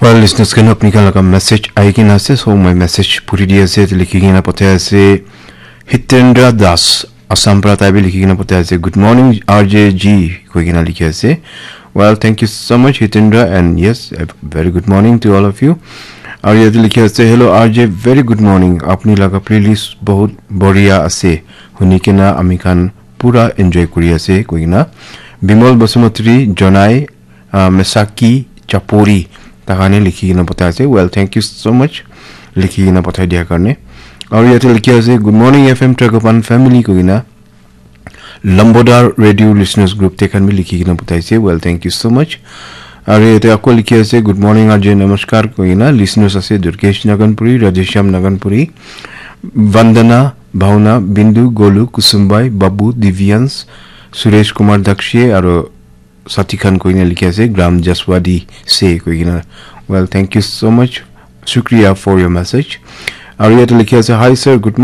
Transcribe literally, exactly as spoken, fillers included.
Well, listeners khan, apni khan laga message ahi kena ase, so moi message puri di ase, likhi kena pathai ase Hitendra Das, Assam pra tai bi likhi kena pathai ase, "Good morning, R J G," koi kena likhi ase. Well, thank you so much, Hitendra, and yes, a very good morning to all of you. Aru yate likhi ase, "Hello, R J, very good morning. Apni laga playlist bahut badhiya ase. Huni kena ami khan pura enjoy kuri ase," koi kena. Bimal Basumatri, Jonai, uh, Mesaki Chapori, takane likhi kena pathai ase. Well, thank you so much, likhi kena pathai dia karne. Aru yate likhi ase, "Good morning, F M Tragopan family," koi kena. Lambodar Radio Listeners Group te khan bi likhi kena pathai ase. Well, thank you so much. Aru yate ako likhi ase, "Good morning, R J, namaskar," koi kena. Listeners ase Durgesh Naganpuri, Radheshyam Naganpuri, Vandana, Bhauna, Bindu, Golu, Kusumbai, Babu, Divyans, Suresh Kumar Dakshi, aru Sati Khan koi kena likhi ase, "Gram Jaswadi se," koi kena. Well, thank you so much. Shukriya for your message. Aru yate likhi ase, "Hi sir, good morning."